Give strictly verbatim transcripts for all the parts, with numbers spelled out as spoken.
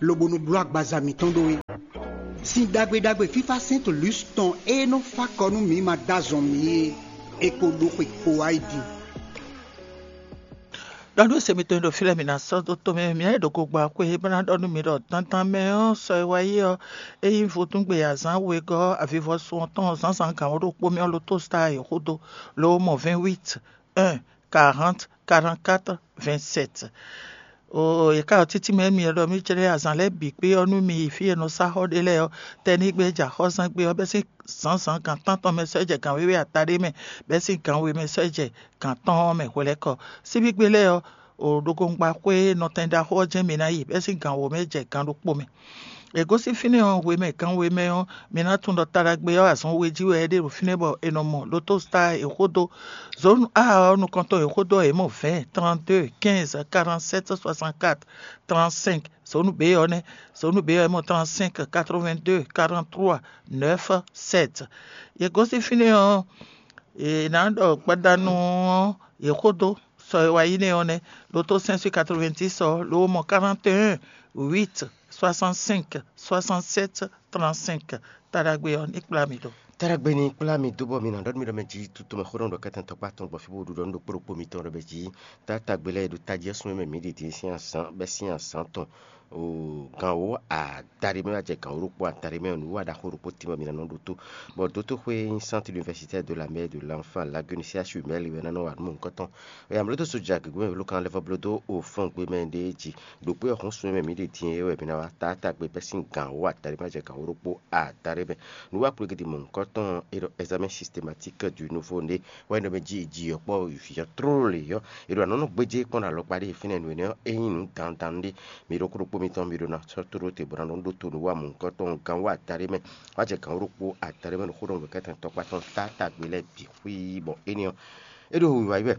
lobo nɔ bló agbaza mǐtɔn ɖó é. Sin ɖagbe ɖagbe fífá Saint Luce tɔn e nɔ fá kɔ nú mǐ ma dó azɔn mǐ é, è ko ɖó xwe kpo wá yi din. Ɖɔ nú se mitɔn e ɖo fí lɛ́ɛ, mǐ ná sɔ́ dó tomɛ, mǐ ná yi ɖo gogba xwé bó ná ɖɔ nú mi ɖɔ dandan mɛ ɔ́, sɔ e wá yi ɔ́, é nyí vodúngbe azǎn wegɔ́ avivɔsun ɔ́ tɔn zǎnzǎn gǎn wǒ ɖokpó mɛ ɔ́, lo tó sta yě xó dó, lo mɔ vingt-huit un quarante quarante-quatre vingt-sept. Oo, yě ká ɖo títí mɛ émí ɖɔ mí jlɛ́ azǎn lɛ́ɛ bǐ kpé ɔ́ nú mi yi fí e è nɔ sá xɔ ɖe lɛ́ɛ ɔ́, tɛnígbe jɛ axɔ́zán gbé ɔ́, bɛ́ sín zǎnzǎn gan tántɔn mɛ sɔ́ jɛ gan wěwe atáɖé mɛ, bɛ́ sín gan we mɛ sɔ́ jɛ gan tɔn ɔ́ mɛ hwelɛ́kɔ. Síbígbe lɛ́ɛ ɔ́, o ɖokɔngba xwé nɔtɛn ɖaxó ɔ́ jɛ́n mi ná yi, bɛ́ sín gan wǒ mɛ jɛ gan ɖokpó mɛ. È gosín fínɛ́ ɔ́, hwemɛ gan we mɛ ɔ́, mi ná tunwun ɖɔ taɖagbe ɔ́ azɔn we jí wɛ é ɖe ɖo fínɛ́ bɔ è nɔ mɔ lotostar è xó dó. Zǒnu A ɔ́ nukɔntɔn è xó dó ɔ́, è mɔ vingt, trente-deux, quinze, quarante-sept, soixante-quatre, trente-cinq. Zǒnu B ɔ́ nɛ́. Zǒnu B ɔ́, è mɔ trente-cinq, quatre-vingt-deux, quarante-trois, neuf, sept. È gosín fínɛ́ ɔ́, è nǎ ɖɔ gbadanu ɔ́, è xó dó sɔ e wá yi nɛ́ ɔ́ nɛ́. Loto cinq cent quatre-vingt-dix ɔ́, lo mɔ quarante et un, huit, soixante-cinq, soixante-sept, trente-cinq. Taɖagbe ɔ́ ní kplá mi ɖo. Taɖagbe ní kplá mi dó bɔ mi nǎ ɖɔ nú mi ɖɔ mɛ jí tutu mɛ xó ɖɔ ɖɔ kɛ́tɛn tɔkpá tɔn gbɔ fí bó ɖu ɖɔ nú ɖokpó ɖokpó mitɔn ɖɔ mɛ jí. Taɖagbe lɛ́ɛ ɖo tají ɔ́ sún mɛ mǐ ɖi dín sín azǎn bɛ́ sín azǎn tɔn. O gan wǒ adaɖé mɛ wá jɛ gan wǒ ɖokpó adaɖé mɛ nǔ wa ɖaxó ɖokpó tín bɔ mi ná nɔ ɖótó. Bɔ dótóxwé nyí Centre Universitaire de la Mère et de l'Enfant Lagune, C H U Mɛli wɛ ná nɔ wa nǔ mɔ̌hunkɔtɔn. Yamlódó so ja gěgé mɛ vló kan lɛ́ vɔ bló dó o fɔ́n gbe mɛ ɖé jí. Ɖokpó ɔ́ hɔn sun mɛ mǐ ɖe din é wɛ mi ná wá taátagbe bɛ́ sín gan wǒ adaɖé mɛ jɛ gan wǒ ɖokpó adaɖé mɛ. Nǔ wa kplé gidi mɔ̌hunkɔtɔn e ɖɔ examen systématique du nouveau né wɛ nɔ mɛ jí ji ɔ́ kpɔ́ vǐ ɔ́ tlóló lě ɔ́, è ɖo anɔ̌ nɔ gbéjé kpɔ́n ɖo alɔkpa ɖé fínɛ́ nǔ énɛ́ ɔ́, é nyí nǔ dandan ɖé. Mi ɖokpó ɖokpó mitɔn mi ɖó ná sɔ́ tó ɖó te bó ná nɔ ɖótó nǔ wa mɔ̌hunkɔtɔn gan wǒ adaɖé mɛ, wá jɛ gan wǒ ɖokpó adaɖé mɛ ɖo xó ɖɔ nǔkɛntɛn tɔkpá tɔn taátagbe lɛ́ɛ bǐ xwí bɔ énɛ́ ɔ́, é ɖo wiwa yi wɛ.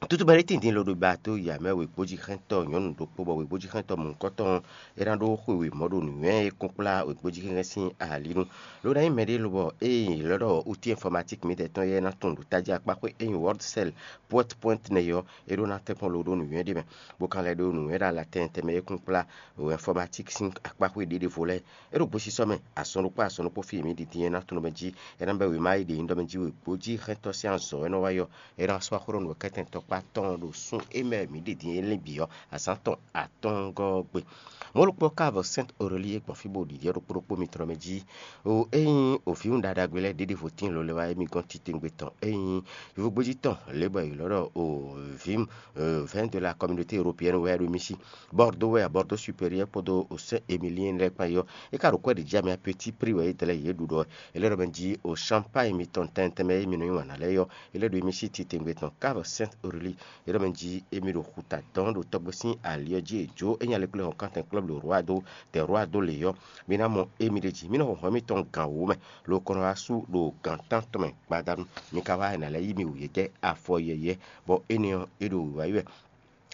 Tutu mɛ ɖé tíndín lo ɖo ba tó ya mɛ wěgbójíxɛntɔ́ nyɔ̌nu ɖokpó bɔ wěgbójíxɛntɔ́ mɔ̌hunkɔtɔn ɔ́, é ná ɖó xwe wěmɔ́ ɖo nǔnywɛ́ e kún kplá wěgbójíxɛnxɛn sín ali nu. Lo ná nyí mɛɖé lobɔ ée è ylɔ́ ɖɔ outil informatique mǐtɛn tɔn éyɛ́ ná tunwun ɖo tají akpá xwé e nyí Wordcell, PowerPoint nɛ́ ɔ́, é ɖó ná tɛ́nkpɔ́n lo ɖó nǔnywɛ́ ɖé mɛ, bó ka lɛ́ ɖó nǔnywɛ́ ɖo ala tɛnmɛ tɛnmɛ e kún kplá informatique sín akpá xwé ɖěɖěvo lɛ́ɛ. É ɖo gbesisɔ mɛ, azɔn ɖokpó azɔn ɖokpó fí e mǐ ɖi din é ná tunwun mɛ jí, é ná bɛ́ wěma e ɖě nyí ɖɔ mɛ jí wěgbójíxɛntɔ́ sín azɔ̌ wɛ nɔ wá yɔ. É ná sɔ́ axó ɖɔ nǔ kɛ́tɛn tɔkpá tɔn ɖo sún e mɛ mǐ ɖi din é lɛ́ɛ bǐ ɔ́, azǎn tɔn atɔ́ɔ́ngɔ́ ɔ́ gbe. Mɔ̌ ɖokpó ɔ́ ká vɔ Sainte Aurélie gbɔn fí bó ɖiɖi ɔ́ ɖokpó ɖokpó mitɔn mɛ jí. O ényí òvǐwun ɖaɖagbe lɛ́ɛ ɖěɖěvo tíin lo lɛ́ wá émí gɔ́n titewungbe tɔn, ényí yovógbéjí tɔn lě bɔ è ylɔ́ ɖɔ o vǐm vɛ̌n de la communauté européenne wɛ ɖo émí sí. Bordeaux wɛ a Bordeaux supérieur kpódó o Saint Émilien lɛ́ɛ kpán yi ɔ́, é ka ɖo kwɛ́ ɖě jí amɛ petit prix wɛ é dlɛ́ yě ɖu ɖɔ é lɛ́ ɖɔ mɛ jí o champagne mitɔn tɛntɛn mɛ e mi nɔ nyi wǎn ná lɛ́ɛ ɔ́, é lɛ́ ɖo émí sí titewungbe tɔn ká vɔ Sainte Aurélie. É ɖɔ mɛ jí émí ɖo xuta dɔn ɖo tɔgbe sín ali ɔ́ jí è jó é nya lɛ́ kplé hɔn kántɛn club le roi dó tɛ roi dó lě ɔ́, mi ná mɔ émí ɖ'é jí. Mí nɔ xɔxɔ émítɔn gǎn wǒ mɛ, lo kɔ nɔ wá sú ɖo gǎn tántɔn mɛ gbadanu. Mi ka wá ná lɛ́ yí mi wǔyɛ́ jɛ afɔ yɛyɛ́, bɔ énɛ́ ɔ́, é ɖo wǐwá yi wɛ.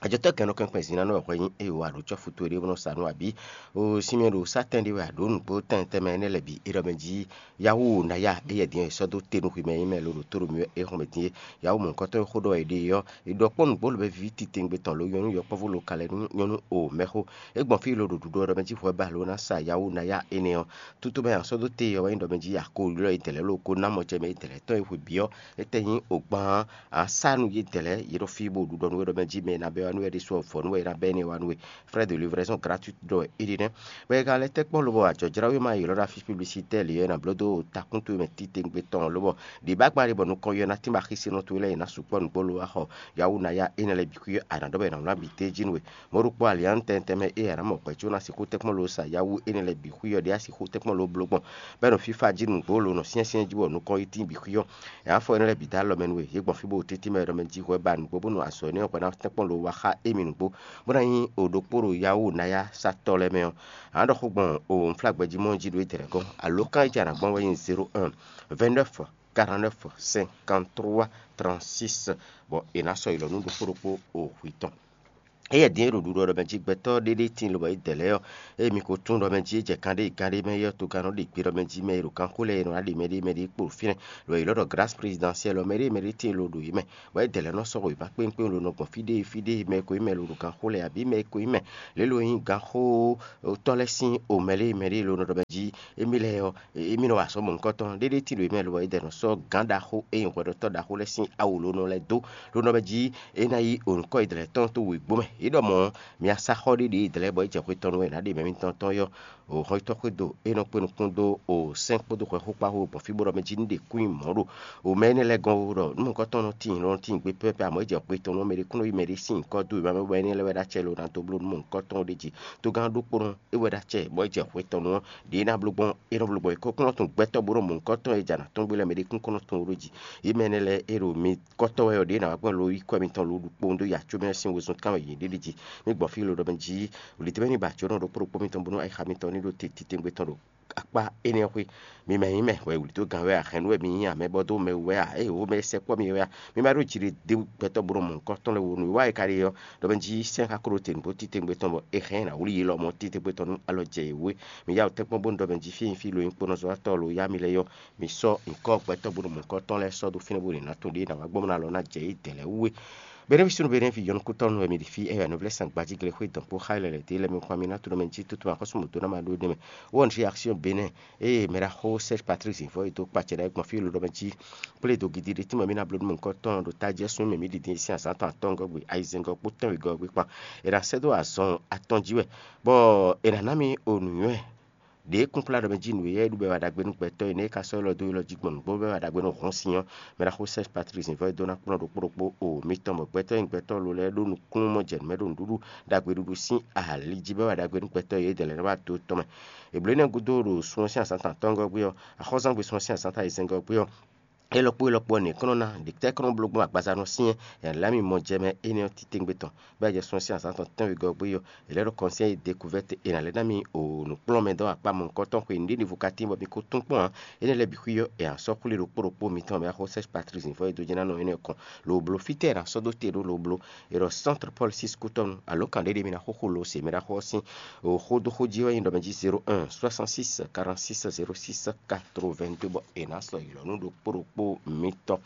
Ajɔtɔ́ gɛ̌n nɔ kɛnkpɛn zǐn ná nɔ wɛ hwɛ nyí eye wǎ ɖo cɔ́fu towe ɖé bó nɔ sa nú abǐ. O sinmɛ ɖo sátɛn ɖé wɛ a ɖǒ nǔgbó tɛntɛn mɛ énɛ́ lɛ́ɛ bǐ é ɖɔ mɛ jí yáwó ná ya éyɛ́ din ɔ́ è sɔ́ dó te nú xwimɛ nyí mɛ lo ɖo tó ɖo mì wɛ é xɔn mɛ din é. Yáwó mɔ̌hunkɔtɔn e xó ɖɔ è ɖe é ɔ́, è ɖɔ kpɔ́ nǔgbó lobɛ víví titewungbe tɔn lo nyɔ́nú yɔkpɔ́vú lo ka lɛ́ nú nyɔ́nú o mɛxó. É gbɔn fí lo ɖo ɖuɖu ɔ́ ɖɔ mɛ jí hwɛ ba lo ná sa yáwó ná ya énɛ́ ɔ́. Tútú mɛ a sɔ́ dó te ɔ́ wɛ nyí ɖɔ mɛ jí a ko ylɔ́ yi dɛ̌lɛ́ lo ko ná mɔ jɛ mɛ yi dɛ̌lɛ́ tɔn e hwe bǐ ɔ́, étɛ́ nyí o gbán a sá nú yědɛɛ lɛ́ɛ yě ɖo fí bó ɖu ɖɔ nú we ɖɔ mɛ jí mɛ e ná bɛ́ wá nú we ɖésú ɔ́ vɔ̌ nú we e ná bɛ́ énɛ́ wá nú we. Frais de livraison gratuite ɖɔ é ɖe nɛ́. Bɔ è ka lɛ́ tɛ́ kpɔ́n lobɔ ajɔ̌jláwéma e ylɔ́ ɖo afí publicitaire lě ɔ́ è nǎ bló dó takúntu e mɛ titewungbe tɔn ɔ́ lobɔ ɖě bá gba ɖe bɔ nukɔn yɔ ná tínba xísinɔ towe lɛ́ɛ è nǎ sukpɔ́ nǔgbó lo wá xɔ yáwó ná ya énɛ́ lɛ́ɛ bǐ xwí ɔ́, a nǎ ɖɔ bɔ è nǎ wlán bǐ d'é jí nú we. Mɔ̌ ɖokpó aliǎn tɛntɛn mɛ e a nǎ mɔ hwɛ̌ có ná sixú tɛ́nkpɔ́n lo sa yáwó énɛ́ lɛ́ɛ bǐ xwí ɔ́ ɖě a sixú tɛ́nkpɔ́n lo bló gbɔn, bɔ é nɔ fífá jí nǔgbó lo nɔ syɛ́nsyɛ́n jí bɔ nukɔn yi tín bǐ xwí ɔ́. È nǎ fɔ énɛ́ lɛ́ɛ bǐ dó alɔ mɛ nú we. Yě gbɔn fí bó tɛ́ntin mɛ ɖɔ mɛ jí hwɛ ba nǔgbó bónú azɔ̌ énɛ́ ɔ́ hwɛ ná tɛ́nkpɔ́n lo wá xá émí nǔgbó, bó ná nyí o ɖokpó ɖo yáwó ná yá satɔ́ lɛ́ɛ mɛ ɔ́. A nǎ ɖɔ xó gbɔn o unflágbɛjí mɔ jí ɖo étɛ́ lɛ́ɛ gɔ́n. Alǒkan e jɛ a nǎ gbɔn wɛ nyí zéro un, vingt-neuf, quarante-neuf, cinquante-trois, trente-six, bɔ è nǎ sɔ́ yi lɔ nú ɖokpó ɖokpó o hwi tɔn. Éyɛ́ din e ɖo ɖuɖɔ ɖɔ mɛ jí gbɛtɔ́ ɖé ɖé tíin lobɔ é dɛ lɛ́ɛ ɔ́, ée mi ko tunwun ɖɔ mɛ jí é jɛ kan ɖé gán ɖé mɛ é ɔ́, togán nɔ ɖe gbe ɖɔ mɛ jí mɛ e ɖo gánxó lɛ́ɛ e nɔ ná ɖe mɛ ɖé mɛ ɖé kpo ɖo fínɛ́, lɔ yě lɔ ɖɔ Grâce Présidentielle ɔ́, mɛ ɖé mɛ ɖé tíin lo ɖo yě mɛ, bɔ é dɛ lɛ́ɛ nɔ sɔ́ wěma kpéŋkpéŋ lo nɔ gbɔn fí ɖé fí ɖé, mɛ e ko nyí mɛ lo ɖo gánxó lɛ́ɛ, abǐ mɛ e ko nyí mɛ lě lo nyí gánxótɔ́ lɛ́ɛ sín o mɛ ɖé mɛ ɖé lo nɔ ɖɔ mɛ jí émí lɛ́ɛ ɔ́, émí nɔ wa azɔ̌ mɔ̌hunkɔtɔn ɖé ɖé tíin ɖo yě mɛ, lobɔ é dɛ nɔ sɔ́ gǎn ɖaxó e nyí hwɛɖɔtɔ́ ɖaxó lɛ́ɛ sín awu lo nɔ lɛ́ɛ dó, lo nɔ mɛ jí é ná yí o nǔkɔ e dɛ lɛ́ɛ tɔn tó wěgbó mɛ. É ɖɔ mɔ̌ ɔ́, mi wá sá xɔ ɖé ɖě e dɛ lɛ́ɛ bɔ é jɛ xwe tɔn nu wɛ è nǎ ɖe mɛ mitɔn tɔn ɔ́, o hɔnnyitɔ́ xwedó e nɔ kpé nukún dó o sɛ́n kpódó hwɛxó kpá xó gbɔn fí bó ɖɔ mɛ jí ní ɖe kún nyi mɔ̌ ɖo o mɛ énɛ́ lɛ́ɛ gɔ́n ó, ɖɔ nú mɔ̌hunkɔtɔn nɔ tíin nɔ tíin gbé pɛ́pɛ́, amɔ̌ é jɛ xwe tɔn nu ɔ́, mɛ ɖé kún nɔ yí mɛ ɖé sín nyǐkɔ dó wěma mɛ bɔ énɛ́ lɛ́ɛ wɛ ɖó acɛ lo ná dó bló nú mɔ̌hunkɔtɔn ɖé jí. Togán ɖokpónɔ é wɛ ɖó acɛ bɔ é jɛ xwe tɔn nu ɔ́, ɖě é ná bló gbɔn é nɔ bló gbɔn é kɔ́ kún nɔ tunwun gbɛtɔ́ bó nɔ mɔ̌hunkɔtɔn e jɛ nǎ tɔn gbé lɛ́ɛ mɛ ɖé kún kɔ́ nɔ tunwun ɖó jí. Yě mɛ énɛ́ lɛ́ɛ é ɖo mi kɔ́tɔ́ wɛ ɔ́, ɖě ná wá gbɔn lo yí kɔ́ mitɔn lo ɖu kpowun dó yi acómɛ sín wezun tɔn wɛ yě ɖe ɖi jí. Mi gbɔn fí lo ɖɔ mɛ jí wlǐdó mɛ ní ba jǒnɔ ɖokpó ɖokpó mitɔn bónú ayixa mitɔn ní ɖo te titewungbe tɔn ɖo akpá énɛ́ ɔ́ xwé. Mi mɛ nyí mɛ wɛ wlǐdó gán wɛ a, hɛ̌nnu wɛ mi nyí a, mɛ bɔ dó mɛ wú wɛ a, ée wǒ mɛ sɛkpɔ́ mi wɛ a, mi ma ɖó jiɖe dó gbɛtɔ́ bónú mɔ̌hunkɔtɔn lɛ́ɛ wonu. Wá e ka ɖe ɔ́, ɖɔ mɛ jí sɛ́n xá kó ɖo te nǔgbó titewungbe tɔn bɔ è hɛn ɛ ná wlí yi lɔmɔ̌ titewungbe tɔn nú alɔ jɛ yě wú é. Mi yá wǔ tɛ́nkpɔ́n bónú ɖɔ mɛ jí fí e nyí fí lo nyí kponɔzɔ́watɔ́ lo yá mi lɛ́ɛ ɔ́, mi sɔ́ nyǐkɔ gbɛtɔ́ bónú mɔ̌hunkɔtɔn lɛ́ɛ sɔ́ dó fínɛ́ bó ɖe nǎ tɔn ɖě ná wá gbɔn bó ná lɔ ná jɛ yě dɛ̌ lɛ́ɛ wú é. Benɛ́ fí súnnu Benɛ́ fí yɔnukútɔ́ nú wɛ mi ɖi fí, é wɛ nǔvlɛ́ sangbajíglé xwé dɔn kpó xá lɛlɛ dě lɛ́ɛ mi kpɔ́n mi ná tunɔ mɛ jí tutuma xɔ́sú mɔ̌ dó ná ma ɖó nɛ́ mɛ. Wɔ nǔ axi ɔ́ Benɛ́, ée mɛ ɖaxó Serge Patrice Zivɔ e dó kpacɛ ɖ'ayǐ gbɔn fí lo ɖɔ mɛ jí kplé dó gidi ɖé tínmɛ mi ná bló nú mɔ̌hunkɔtɔn ɖo tají ɔ́ sín mɛ mi ɖi din sín azǎn tɔn atɔ́ɔ́ngɔ́ gbe, ayizɛ́ngɔ́ kpó tɛ́nwegɔ́ ɔ́ gbe kpan. È nǎ sɛ́ dó azɔn atɔn jí wɛ, bɔ è nǎ ná mi o nǔnywɛ́ ɖě kúnplá ɖɔ mɛ jí nǔ e yɛ ɖu bɔ é wa ɖagbe nú gbɛtɔ́ e nɛ́ é ka sɔ́ élɔ́ dó élɔ́ jí gbɔn nǔgbó bɔ é wa ɖagbe nú hɔn sin ɔ́, mɛ ɖaxó Serge Patrice Zivɔ e dó ná kplɔ́n ɖokpó ɖokpó o mitɔn bɔ gbɛtɔ́ e nyí gbɛtɔ́ lo lɛ́ɛ ɖó nukúnnú mɔ jɛ nǔ mɛ ɖo nǔɖuɖu ɖagbeɖuɖu sín ali jí bɔ é wa ɖagbe nú gbɛtɔ́ e yě dɛ lɛ́ɛ ná wá do tɔn mɛ. È blǒ énɛ́ gúdo ɖo sun ɔ́ sín azǎn tɔn atɔ́ɔ́ngɔ́ gbé ɔ́, axɔ́zángbé sun ɔ́ sín azǎn tɔn ayizɛ́ngɔ́ gbé ɔ́, é lɔkpó é lɔkpó ɔ́ nɛ̌ kɔn nɔ ná ɖě tɛ́ kɔn nɔ bló gbɔn agbaza nɔ syɛ́n, è nǎ lɛ́ mi mɔ jɛ mɛ énɛ́ ɔ́ titewungbe tɔn, bɔ é jɛ sun ɔ́ sín azǎn tɔn tɛ́nwegɔ́ gbé ɔ́, è lɛ́ ɖo kɔnsɛ́n e découverte è nǎ lɛ́ ná mi o nǔkplɔ́nmɛ dɔ́ akpá mɔ̌hunkɔtɔn xwe nǔɖé ɖěvo ka tín bɔ mi ko tún kpɔ́n ǎ. Énɛ́ lɛ́ɛ bǐ xwí ɔ́, è nǎ sɔ́ xwlé ɖokpó ɖokpó mitɔn mɛ axó Serge Patrice Zivɔ e dó jɛ ná nɔ énɛ́ kɔn lo bló fítɛ́ è nǎ sɔ́ dó te ɖó lo bló. È ɖɔ Centre Paul six kútɔ́nu, alǒkan ɖé ɖé mi ná xóxó lo se mɛ ɖaxó ɔ́ sín xódóxó jí wɛ nyí ɖɔ mɛ jí zéro un soixante six quarante six zéro six quatre-vingt-deux bɔ è nǎ sɔ́ yi lɔ nú ɖokpó ɖokpó mitɔn.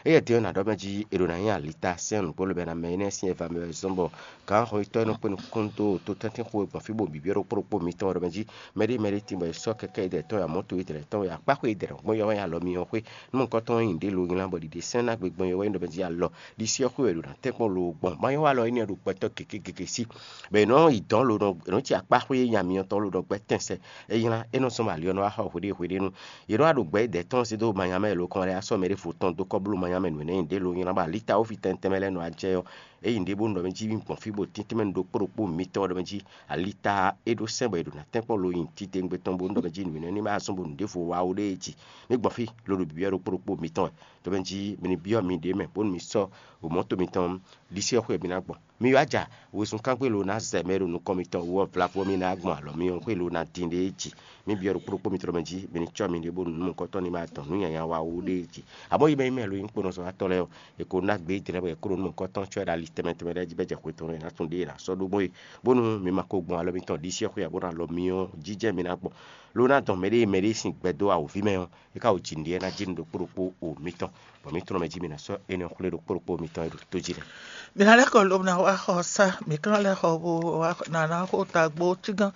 Éyɛ́ din ɔ́, nǎ ɖɔ mɛ jí è ɖo ná nyí alita sɛ́n nǔgbó lobɛ ná mɛ énɛ́ sín eva mɛ wɛ zɔ́n bɔ gǎnxɔyítɔ́ e nɔ kpé nukúnnú dó to tɛ́ntin xó e gbɔn fí bɔ bǐbí ɖokpó ɖokpó mitɔn ɖɔ mɛ jí mɛɖé mɛɖé tin bɔ è sɔ́ kɛkɛ́ idɛtɔ́ ya mɔ̌to idɛtɔ́ ya akpáxwé idɛtɔ́ gbɔn yɔ wɛ nyi alɔ mi ɔ́ xwé. Nú mɔ̌hunkɔtɔn nyi ɖě lo nylá bɔ ɖiɖe sɛ́n ná gbe gbɔn yɔ wɛ nyí ɖɔ mɛ jí alɔ ɖisí ɔ́ xwé wɛ ɖo ná tɛ́nkpɔ́n lo gbɔn. Mayɔ́ wa alɔ énɛ́ ɖo gbɛtɔ́ gěgé gěgé sí. Bɔ è nɔ yi dɔ̌n lo nɔ è nɔ ci akpáxwé nya myɔtɔn lo nɔ gbɛ́ tɛnsɛ. É nylá é nɔ zɔ́n ali ɔ́ nɔ wá xɔ hweɖée hweɖée nu. Yě nɔ wá ɖo gbɛ ɖɛ̌ tɔn zé dó manyamɛ lo kɔn wɛ sɔ́ mɛ ɖěvo tɔn dó kɔ́ bló manyamɛ nǔ énɛ́ nyi ɖě lo nylá bɔ alita wófi tɛntɛn mɛ lɛ́ɛ nɔ wá jɛ ɔ́, é yi nǔɖé bónú ɖɔ mɛ jí mì gbɔn fí bó tín tɛnmɛ ɖokpó ɖokpó mitɔn ɖɔ mɛ jí alita é ɖó sɛ́n bɔ è ɖo ná tɛ́nkpɔ́n lo nyi titewungbe tɔn bónú ɖɔ mɛ jí nǔ énɛ́ ní ma zɔ́n bónú ɖěvo wá ó ɖée jí. Mì gbɔn fí lo ɖo bǐbíɔ́ ɖokpó ɖokpó mitɔn wɛ. Ɖɔ mɛ jí mi ní byɔ́ miɖée mɛ bónú mi sɔ́ mɔ̌to mitɔn ɖisí ɔ́ xwé mi ná gbɔn. Mi wá ja wezun kángbé lo ná zɛ mɛ ɖo nukɔn mitɔn wú ɔ́ vlavo mi ná gbɔn alɔ mi ɔ́ xwé lo ná din ɖée jí. Mi byɔ́ ɖokpó ɖokpó mitɔn mɛ jí mi ní cɔ́ miɖée bónú nú mɔ̌hunkɔtɔn ní ma dɔn nǔ nyanya wa ó ɖée jí. Amɔ̌ yi mɛ yi mɛ lo nyí kponɔzɔ́watɔ́ lɛ́ɛ ɔ́, è ko ná gbé dɛ̌n bɔ è kó ɖo nú mɔ̌hunkɔtɔn cɔ́ ɖo ali tɛnmɛ tɛnmɛ lɛ́ɛ jí bɔ é jɛ xwe tɔn lɛ́ɛ ná tún ɖée è nǎ sɔ́ ɖó gbɔn é, bónú mi ma ko gbɔn alɔ mitɔn ɖisí ɔ́ xwé ǎ bó ná alɔ mi ɔ́ jijɛ mi ná gbɔn. Lo ná dɔn mɛɖée mɛɖée sín gbɛ dó awǒvi mɛ ɔ́, é ka wǒ ji nǔɖé ná jí nǔ ɖokpó ɖokpó o mitɔn, bɔ mǐ tunɔ mɛ jí mi ná sɔ́ énɛ́ xwlé ɖokpó ɖokpó mitɔn e ɖo tó jí lɛ́ɛ. Mi ná lɛ́ kɔ lobo ná wá xɔ sá, mi ka ná lɛ́ xɔ bó wá ná ná xo tagbó cígán,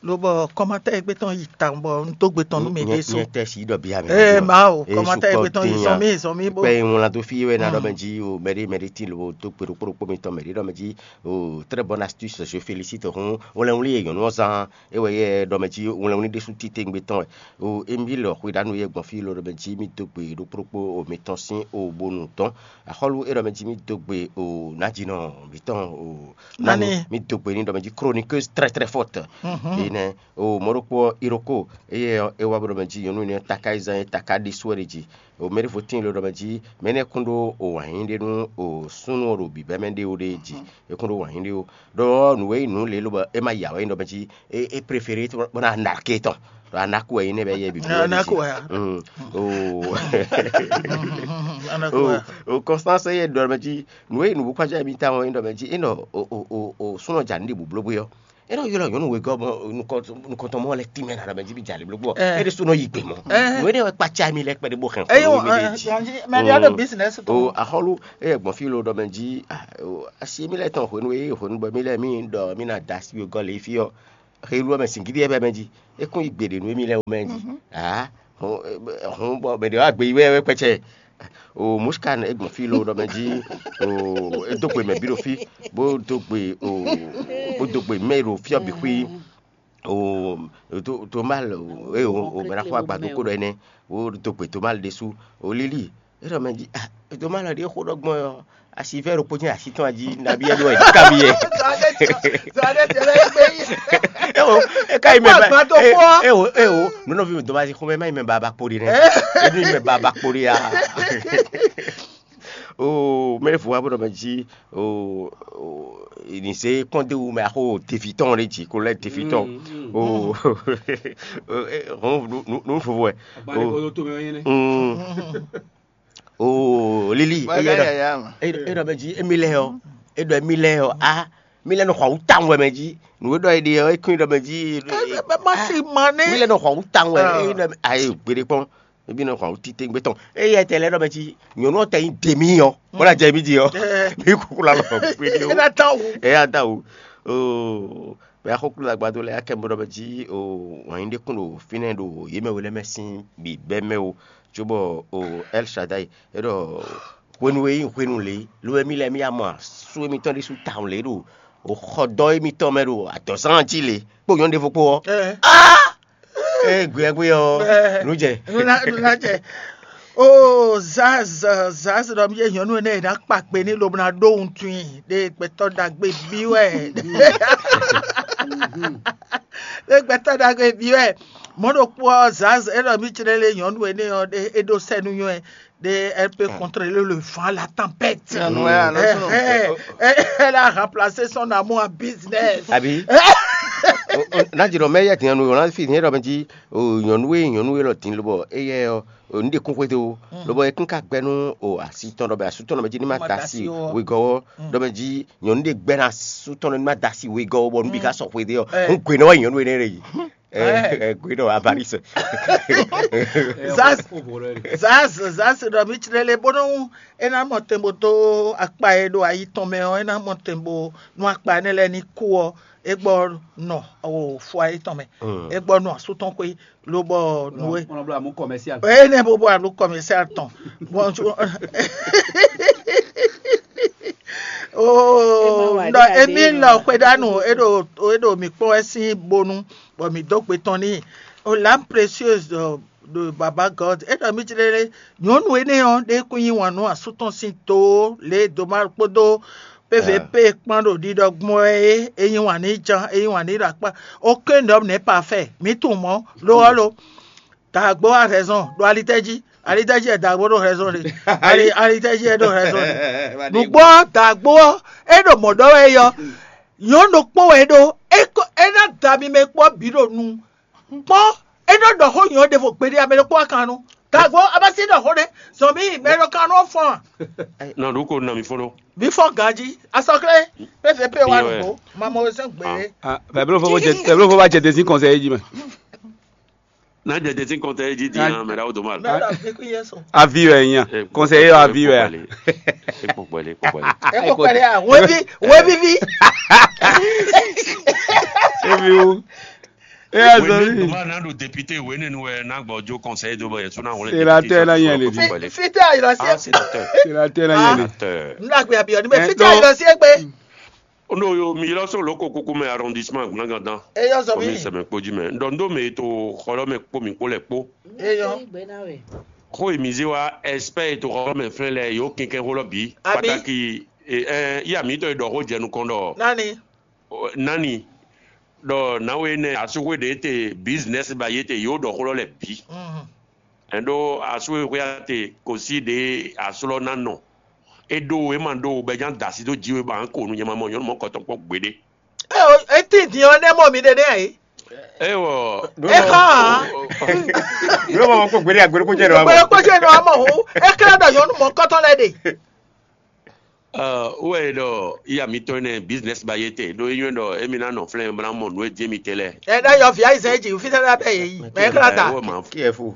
lobɔ kɔmatɛ́ e gbé tɔn yi tawun bɔ un dó gbe tɔn nú mi ɖésú. Nyɛ tɛ si ɖɔ bia mi. Ee Mawu, kɔmatɛ́ e gbé tɔn yi zɔn mì zɔn mì bó. Kpɛ ŋlá dó fí wɛ ná ɖɔ mɛ jí o mɛɖé mɛɖé tí lobo dó gbe ɖokpó ɖokpó mitɔn mɛɖé ɖɔ mɛ jí o très bonne astuce, je félicite hɔn wlɛnwlí e nyɔ̌nu ɔ́ zán é wɛ yɛ ɖɔ mɛ jí wlɛnwlí ɖésú títewungbe tɔn wɛ. O Emile Xweɖanu yɛ gbɔn fí lo ɖɔ mɛ jí mì dó gbe ɖokpó ɖokpó o mitɔn sín o bonu dɔn axɔ́lú é ɖɔ mɛ jí mì dó gbe o nǎjínɔ mǐtɔn o nani mì dó gbe ní ɖɔ mɛ jí chroniqueuse très très forte. Mhm. nɛ o mɔɖokpó ɔ́, Iroko eye ɔ́, é wá bó ɖɔ mɛ jí nyɔ̌nu énɛ́ ɔ́ taká yi zán é taká ɖésú wɛ ɖe jí. O mɛ ɖěvo tíin ló ɖɔ mɛ jí mɛ énɛ́ kún ɖó o wǎn yí ɖé nú o súnnu ɔ́ ɖo bǐbɛ́mɛ ɖé o ɖe jí. É kún ɖó wǎn yí ɖé o. Ɖɔ nǔ e nyí nǔ lě lobɔ é ma ya wɛ nyí ɖɔ mɛ jí é é préféré bó ná ná ké tɔn. Ɖɔ anáku wɛ nyí nɛ́ bɛ yɛ bǐ. Anaku wɛ ya. Mm. O Anaku wɛ. O Constance yɛ ɖɔ mɛ jí nǔ e nyí nǔ bó kpájá mì tawun é ɖɔ mɛ jí é nɔ o o o o súnnu ɔ́ ja nǔ ɖi bǔblóbú ɔ́. É nɔ ylɔ́ nyɔ̌nu wegɔ́ mɔ nukɔntɔn mɔ lɛ́ tínmɛ ná ɖɔ mɛ jí bí jalè blógbó ɔ́. Ɛɛ. É ɖésú nɔ yi gbe mɔ. Ɛɛ. Nǔ énɛ́ wɛ kpácá mi lɛ́ kpɛɖé bó hɛn Eye xɔ wo mi ɖe jí. Mɛ ɖia ɖo business o tɔn. Axɔ́lú eye gbɔn fí lo ɖɔ mɛ jí asi mi lɛ́ tɔn hwenu e hwenu bɔ mi lɛ́ mi ɖɔ mi ná da asi wegɔ́ lě fí ɔ́. Xelu ɔ́ mɛ singídi ɛ bɛ mɛ jí. É kún yi gbe ɖě nú émí lɛ́ɛ wú mɛ jí. Aa hɔn bɔ mɛ ɖě wá gbe yi wɛ wɛ kpɛcɛ. O Muskan e gbɔn fí lo ɖɔ mɛ jí. O e dó gbe mɛ bí ɖo fí, bó dó gbe o bó dó gbe mɛ ɖo fí ɔ́ bǐ xwí. O Tomal e o o mɛ ɖaxó agbado kó ɖɔ énɛ́, bó dó gbe Tomal ɖésú. O Lili e ɖɔ mɛ jí ah Tomal ɖě xó ɖɔ gbɔn ɔ́, asi vɛ́ ɖokpó jɛ́n asi tɔn jí nabí ɛ ɖo ɛ ká mi yɛ. Ewo e ka yi mɛ ba Agbado kpó. Ewo ewo nunɔvi mi dɔmasi xɔmɛ ma yi mɛ ba ba kpo ɖi nɛ. Ebi mɛ ba ba kpo ɖi ya. O mɛ fo wa bɔ mɛ jí o ni se kɔnde wu mɛ axo tevi tɔn ɖe jí ko lɛ tevi tɔn. O hɔn nu fofo ɛ. Agbalẹ̀ kɔ tó mɛ yẹn nɛ. Oo Lili, e ɖɔ mɛ jí émi lɛ ɔ́, e ɖɔ émi lɛ ɔ́, a mi lɛ nɔ xɔ awu tawun wɛ mɛ jí. Nǔ e ɖɔ é ɖe ɔ́, é kún ɖɔ mɛ jí. Má sì mɔ ní. Mi lɛ nɔ xɔ awu tawun wɛ, é ɖɔ ayi gbeɖé kpɔn. Ebi nɔ xɔ awu títí gbé tɔn. Eye tɛ lɛ ɖɔ mɛ jí nyɔ̌nu ɔ́ tɛ nyí dèmí ɔ́, bó ná jɛ mí jí ɔ́. Mi kúkú la lɔ gbeɖé o. É ná tán wu. É ná tán wu. Oo. Mɛ axɔ́kúlú agbadó lɛ́ɛ akɛ bó ɖɔ mɛ jí o wǎn yí ɖé kún ɖo fínɛ́ ɖo yě mɛ we lɛ́ɛ mɛ sín bǐbɛ́ mɛ o, cóbɔ o El Shaddai é ɖɔ hwenu e nyí hwenu lě, lo wɛ mí lɛ́ɛ mí ya mɔ asú émítɔn ɖésú tawun lě ɖo o xɔdɔ́ émítɔn mɛ ɖo adɔ̌zán jí lě kpó nyɔ̌nu ɖěvo kpó ɔ́. Ee gbeyɛgbeyɛ ɔ́, nǔ jɛ. Nuna jɛ. Oo Zaz Zaz ɖɔ mí nyɔ̌nu énɛ́ e ná kpa kpe ní lobo ná ɖó wuntun i ɖe gbɛtɔ́ ɖagbe bí wɛ. Ɖe gbɛtɔ́ ɖagbe bí wɛ. Mɔ̌ ɖokpó ɔ́ Zaz é ɖɔ mí clé lé nyɔ̌nu énɛ́ ɔ́ ɖe é ɖó sɛ́ nú nyɔ́ ɛ ɖe elle peut contrôler le vent, la tempête. Elle a remplacé son amour en business. Abi. N'a jɛ ɖɔ mɛ yɛ din anu yɔ n'a fi din yɛ ɖɔ mɛ ji o nyɔnu e nyɔnu e lɔ din lobɔ eyɛ ɔ o nu de kún xwede o lobɔ e kún ka gbɛ nu o asi tɔn ɖɔ bɛ asu tɔn ɖɔ mɛ ji ni ma da si wegɔ wɔ ɖɔ mɛ ji nyɔnu de gbɛ na asu tɔn ɖɔ ni ma da si wegɔ wɔ bɔ nu bi ka sɔ xwede ɔ n gwe nɔ wa nyɔnu e ne ɖe yi. Ɛ gwe ɖɔ avalisɛ. Zaz zaz zaz ɖɔ mi tsrɛ le bónú é ná mɔ tɛn bó dó akpa e ɖo ayi tɔn mɛ ɔ́, é ná mɔ tɛn bó nú akpa énɛ́ lɛ́ɛ ní kú ɔ́, é gbɔ nɔ o fua yětɔn mɛ, é gbɔ nɔ asú tɔn xwé lobɔ nǔ e. Ɔnɔ bló amú commercial. Eye ne bo bo alo commercial tɔn. Bon, tu- oh, non, Emile Kwedanu, edo edo mi kpɔn wɛ sin bonu, bɔ mi dó gbe tɔn n'i. Oh, l'âme précieuse de, de Baba God. Edo mi jlele nyɔnu ene ɔn de kun yi wan nu asu tɔn sin to le doma kpodo P V P kpɔn ɖo ɖiɖɔ gbɔn wɛ é, é yí wǎn n'i jan, é yí wǎn n'i ɖo akpá. Aucun homme n'est parfait. Mi tunwun mɔ̌, lo ɔ́ lo. Dǎgbó a raison ɖo alitɛ́ jí. Alitɛ́ jí wɛ dǎgbó ɖo raison ɖe. Ali alitɛ́ jí wɛ ɖo raison ɖe. Nǔgbó ɔ́, dǎgbó ɔ́, é ɖo mɔ̌ ɖɔ wɛ é yɔ. Nyɔ̌nu ɖokpó wɛ é ɖó. É kó é ná da mi mɛ kpɔ́ bǐ ɖo nu. Kpɔ́n é nɔ ɖɔ xó nyɔ̌ ɖěvo gbeɖé amɛ ɖokpó wá kan nu. Dǎgbó a ma sí ɖɔ xó ɖé. Zɔn mi mɛ ɖo kan nu ɔ́ fɔ́n a? Nɔ ɖu ko nɔ mi fɔ́n ɖó. Mi fɔ́n ganjí. Asɔklé P V P wá nǔgbó. Mamɔ wezɔn gbé. Bɛblo fo bá jẹ tẹsí kɔnsɛ yé jí mɛ. N'a jẹ tẹsí kɔnsɛ yé jí di yan mɛ ɖawo doma. Mɛ ɖɔ mi kú yé sùn. Avi wɛ yan kɔnsɛ yé avi wɛ. Ekpɔkpɔli ekpɔkpɔli. Ekpɔkpɔli a webi webi vi. Ebi wo. Eya zɔli. Doma n'a ɖo député wene nu wɛ n'a gbɔ jo conseil do bɔ yɛtu n'a wele. Sénateur la yɛn le di. Fite ayɔlɔ si. Sénateur. Sénateur la yɛn le. N la gbe abi ɔdi mɛ fite ayɔlɔ si egbe. Ono yo mi ylɔ sɔ loko kuku mɛ arrondissement gblangandan. Eyɔ zɔ mi. Komi sɛmɛ kpo ji mɛ. Ndɔ ndo mɛ to xɔlɔ mɛ kpo mi kpo lɛ kpo. Eyɔ. Xo emize wa expert to xɔlɔ mɛ flɛ lɛ yo kɛnkɛn xolɔ bi. Abi. Pataki. Iya mi to ɖɔ xo jɛ nukɔn ɖɔ. Nani. Nani. ɖɔ nǎwe énɛ́ asúxwé ɖě te business ba yě te yǒ ɖɔ xó lɔ lɛ́ɛ bǐ. Ɛn ɖó asúxwé xwé ate kò sí ɖě asú lɔ ná nɔ. É ɖó é ma ɖó bɛ ján da así dó jí wé ba ko nu nyɛ ma mɔ nyɔ̌nu mɔ kɔtɔn kpɔ́n gbeɖé. Eti din ɔ́ nɛ mɔ mi ɖe nɛ ayi. É wɔ É xɔ ǎ. Yóò mɔ kó gbélé agbélé kó jẹ́ lọ́wọ́. Gbɛlɛ kpɔ́ jẹ́ nɔ amɔ hu. É kɛlɛ ɖɔ nyɔ̌nu mɔ kɔtɔn lɛ ɖe. Wɛ ɖɔ iya mitɔn nɛ business ba yé te ɖó é nyɔ́ ɖɔ émi ná nɔ flɛ́n bó ná mɔ nǔ e jɛ mi te lɛ. Ɛ ɖe yɔ vi ayi zɛ dzi fi sɛ ɖe abɛ yɛ yi. Mɛ kla ta. Wɛ ma. Kí ɛ fo.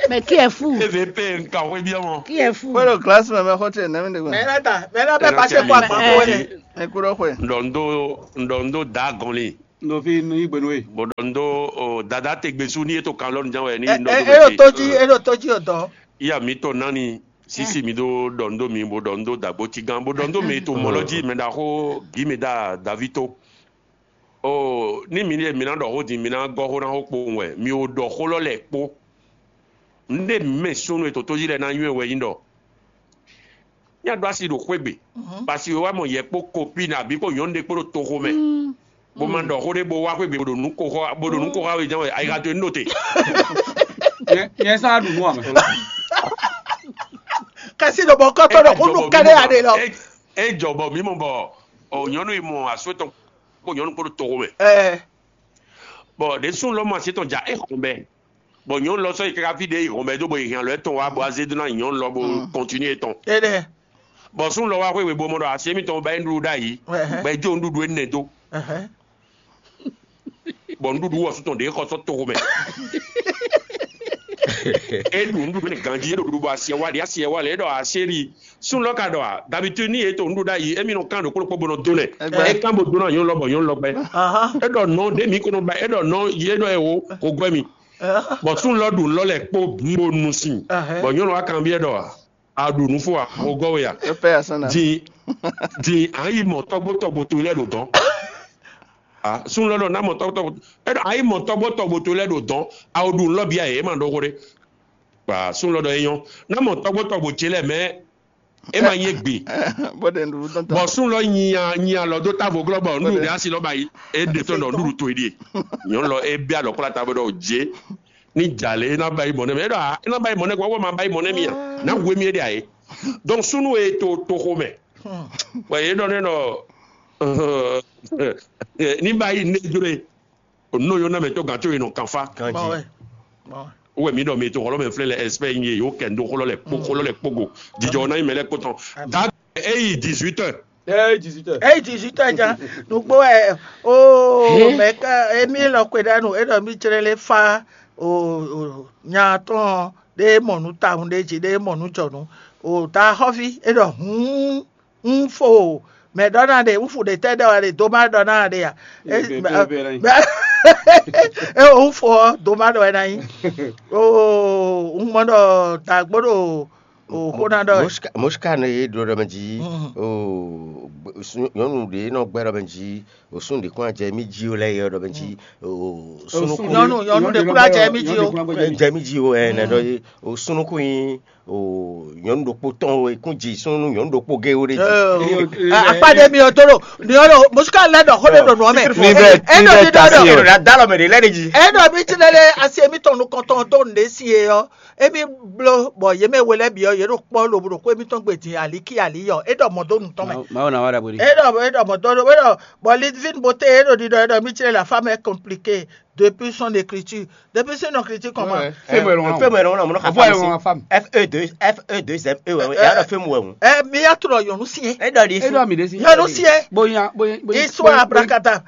Mais qui est fou? Eve pe nka xwé biɛ mɔ. Qui est fou? Wọ́n lọ kílásì mẹ́mẹ́ xɔ́ tiẹ̀ nẹ́mí dègbà. Mɛ la ta mɛ la bɛ pase kɔ akpa ko wɛ. Ẹ kúrò xwe. Ŋdɔ ŋdó ŋdɔ ŋdó da gɔnli. Nɔ fi nu yi gbenu e. Bó ɖɔ ŋdó o dada te gbe su ní e to kan lɔnu ján wɛ ní Ɛ ŋdɔ ɛ ŋdó ɛ ɖo mɛ tó te. Jí ɛ ɖo tó jí o dɔn. Iya mitɔn nani sisi mi ɖó ɖɔ ŋdó mi bó ɖɔ ŋdó dagbo ti gán bó ɖɔ ŋdó mi to mɔ lɔ jí mɛ ɖaxó gí mi ɖa davi tó. O ní mi ní mi ná ɖɔ xó din mi ná gɔ́ xó ná xó kpowun wɛ mi ò ɖɔ xó lɔ lɛ kpó. Ŋɖe mi mɛ súnnu e tòtójí lɛ ná nywɛ́ wɛ nyí ɖɔ. Nya ɖó asi ɖo xwé gbe. Pasi wɛ wá mɔ yɛ kpó kopi nà bí kó nyɔ̌nu ɖé kpó ɖo toxo mɛ. Bó ma ɖɔ xó ɖé bó wá xwé gbe bó ɖo nǔ ko xɔ bó ɖo nǔ ko xɔ awe jɛn wɛ ayixa to enu ɖo te. Nyɛ sá ɖu nú amɛ. Kasi ɖo bɔ kɔtɔ ɖo kó nu kɛɖe aɖe lɔ. E jɔ bɔ mi mɔ bɔ o nyɔnu yi mɔ asu etɔn kpó nyɔnu kpó ɖo toxo mɛ. Ɛ Bɔ ɖe sún lɔ mɔ asi etɔn ja e xɔn bɛ. Bɔ nyɔnu lɔ sɔ yi kaka fi ɖe yi xɔn bɛ do bɔ yi hɛn alɔ etɔn wa bɔ azé do na nyɔnu lɔ bo kɔntinu etɔn. Ɛ ɖɛ. Bɔ sún lɔ wa xwé webomɔ ɖɔ asi emitɔn ba yi nuɖuɖu ɖ'ayi. Bɔ e jó nuɖuɖu enɛ dó. Bɔ nuɖuɖu wɔ sutɔn ɖe xɔ sɔ toxo mɛ. E ɖu nuɖuɖu ne ganji e ɖo ɖuɖu bɔ asiɛ wa ɖi asiɛ wa lɛ e ɖɔ asiɛ ɖi. Sún lɔ ka ɖɔ a dabitu ni e to nuɖuɖu ɖ'ayi emi nɔ kan ɖo kplɔkpɔ bɔ nɔ do nɛ. E kan bo do na nyɔnu lɔ bɔ nyɔnu lɔ gbɛ. E ɖɔ nɔ ɖe mi ko nɔ ba e ɖɔ nɔ yi e ɖɔ e wo ko gbɛ mi. Bɔ sún lɔ ɖu lɔ lɛ kpó bó nu sin. Bɔ nyɔnu wa kan biɛ ɖɔ a a ɖu nǔ fó a? Xo gɔ́ we a? Epɛ asana. Din din a yi mɔ tɔgbo tɔgbo to lɛ ɖo dɔn. A sun lɔ ɖɔ na mɔ tɔgbo tɔgbo e ɖɔ a yi mɔ tɔgbo tɔgbo to lɛ ɖo dɔn. A o ɖu nlɔ bia yɛ e ma ɖɔ xo ɖe. Ba sun lɔ ɖɔ e nyɔ na mɔ tɔgbo tɔgbo ce lɛ mɛ e ma nye gbe. Bó de nɖu tɔntɔn. Bɔ sun lɔ nyi a nyi alɔ do tavo glɔ bɔ nɖu ɖe asi lɔ ba yi e ɖe tɔn ɖɔ nɖu to yi ɖie. Nyɔnu lɔ e bia lɔ kpla tavo ɖɔ je. Ní jà lé ná bá yi mɔ̌ nɛ́ mɛ é ɖɔ ná bá yi mɔ̌ nɛ́ kɔ wɔ ma bá yi mɔ̌ nɛ́ mì a ná hu émí é ɖe ǎ é. Donc súnú e to toxo mɛ bɔ yě ɖɔ nɛ́ ɖɔ ní bá yi ní jló e nú yó ná mɛ tó gǎn tó yi nɔ kanfá. Kanji. Wɛ mí ɖɔ mi to xɔlɔ mɛ flɛ lɛ espɛ nyi yó kɛ ndo xɔlɔ lɛ kpó xɔlɔ lɛ kpó go jijɔ ná yi mɛ lɛ kpó tɔn. Da eyi dix-huit heures. Ɛ dix-huit heures. Eyi dix-huit heures ja nugbo ɛ o mɛ ka emi lɔ kwe ɖa nu e ɖɔ mi jlɛ lɛ fa o o nya tɔn ɖe mɔ nu tawun ɖe dzi ɖe mɔ nu jɔnu o ta xɔvi e ɖɔ hun un fo o mɛ ɖɔ na ɖe un fu ɖe tɛ ɖɔ ɖe do ma ɖɔ na ɖe ya e un fo ɔ do ma ɖɔ na yi o un mɔ ɖɔ dagbo ɖo o xó ná ɖɔ ɛ. Moshka ne ye ɖo ɖɔ mɛ dzi o nyɔnu ɖe nɔ gbɛ ɖɔ mɛ dzi o sunu ɖe kún adze mi dzi o lɛ ye ɖɔ mɛ dzi o sunu kún Nyɔnu nyɔnu ɖe kúrò adze mi dzi o. Adze mi dzi o ɛ nɛ ɖɔ ye o sunu kún yi o nyɔnu ɖokpo tɔn o kún dzi sunu nyɔnu ɖokpo ge o ɖe dzi. Akpa ɖe mi o to ɖo nyɔnu Moshka lɛ ɖɔ xó ɖe ɖo nua mɛ. Ni bɛ E ni ɖɔ bɛ mi tasi ɖɔ o ɖɔ. La da lɔ mɛ de lɛ de dzi. E ɖɔ mi ti lɛ lɛ asi emi tɔn nukɔntɔn do nɖe si ye yɔ. Emi blo bɔ ye mɛ we lɛ bi yɔ ye ɖo kpɔ lobo ɖo ko emi tɔn gbe din ali ki ali yɔ. E ɖɔ mɔ do nu tɔn mɛ. Mawu na wa ɖagbe ɖi. E ɖɔ e ɖɔ mɔ do e ɖɔ bɔ Lidvin Bote e ɖɔ ɖiɖɔ e ɖɔ mi ti lɛ la femme est compliquée depuis son écriture. Depuis son écriture comment? Fais-moi le nom. Fais-moi le nom, mon nom. Envoie-moi ma femme. F E deux, F E deux M E, ouais, ouais. Et alors, fais-moi, ouais. Ɛ mi ya trɔ yɔnu si yɛ. Et dans les E dɔ mi ɖe si. Yɔnu si yɛ. Bonya bonya bonya. Histoire abracadabra.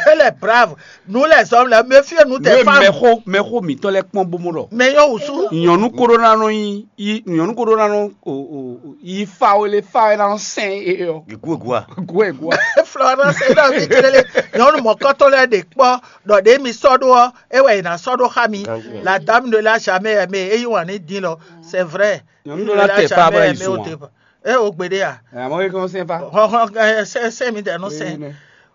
Elle est brave. Nous les hommes, là, méfiez-nous des femmes. Mɛxo mɛxo mitɔ lɛ kpɔn bomo lɔ. Mais yɔ wusu. Nyɔnu koɖo na nɔ yi yi nyɔnu koɖo na nɔ o o yi fa o le fa ɛ na nɔ sɛn e yɔ. Gua, gua. Gua gua. Florence e ɖɔ mi tlele nyɔnu mɔkɔtɔ lɛ ɖe kpɔ ɖɔ ɖe mi sɔ ɖo ɔ e wɛ yina sɔ ɖo xa mi. La dame ne l'a jamais aimé e yi wani din lɔ c'est vrai. Nyɔnu ɖo la tɛ fa bla yi zun wa. E o gbe ɖe ya. Ɛ amɔ yi kɔn sɛn fa. Hɔn hɔn ɛ sɛ sɛ mi dɛ no sɛ. Ne.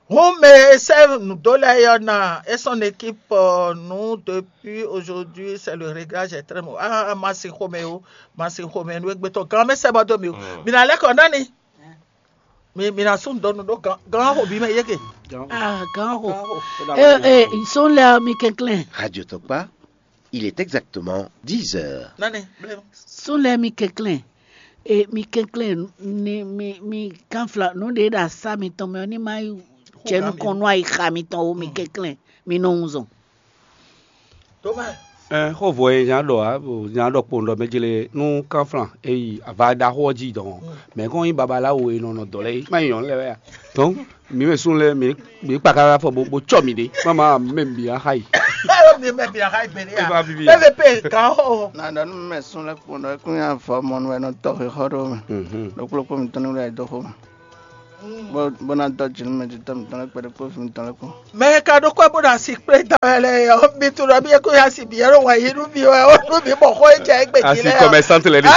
Hun me sɛ nudo lɛ yɔ na e son équipe euh, nous depuis aujourd'hui c'est le réglage est très mauvais. Ah ma si xome o ma si xome nu egbe tɔ gan me sɛ bɔ do mi o. Mi na lɛ kɔ nani. Mi mi na sún dɔnnu ɖó gan gan xo bí mɛ yeke. Ah, gan xo. Gan xo. Eh, eh, sɔn lɛ mi kɛnklɛn. Radio Tokpa, il est exactement dix heures. Nani blɛ. Sɔn lɛ mi kɛnklɛn. Eh, mi kɛnklɛn ni mi mi kanfla nu ɖe ɖe asa mi tɔn mɛ ni ma yi jɛ nukɔn nu ayi xa mi tɔn o mi kɛnklɛn mi nɔ wun zɔn. Tó mɛ. Ɛ xó vɔ e nya ɖɔ a bo nya ɖɔ kpowun ɖɔ mɛ jlé nú kanflan e yi ava ɖaxó ɔ́ jí dɔn mɛ kɔn nyí babaláwo e nɔ nɔ dɔ lɛ é má nyí nyɔ̌nu lɛ wɛ a. Donc mi mɛ sún lɛ mi mi kpa káká fɔ bo bo tsɔ mi ɖe má ma mɛ mi axa yi. Alo mi mɛ bi aha ibeli E va a. bibi Bɛɛ bɛ pe gan xo. Na ɖɔ nú mɛ sún lɛ́ kpɔ́n ɖɔ é kún nyi avɔ mɔnu wɛ nɔ tɔ xixɔ ɖó mɛ. Ɖokplɔ́kpó mitɔn ní wɛ dó xó mɛ. Bó bó ná dɔ jǐ nú mɛ jǐtɔ́ mitɔn lɛ́ kpɛɖé kpó vǐ mitɔn lɛ́ kpó. Mɛ e ka ɖo kɔ bó ɖo asi kplé da wɛ lɛ ɔ mi tu ɖɔ mi e ko ya si bi yɛ ɖo wɛ yi nú mi wɛ o nú mi bɔ xɔ e jɛ egbe jí asi lɛ. Commerçante lɛ ɖe.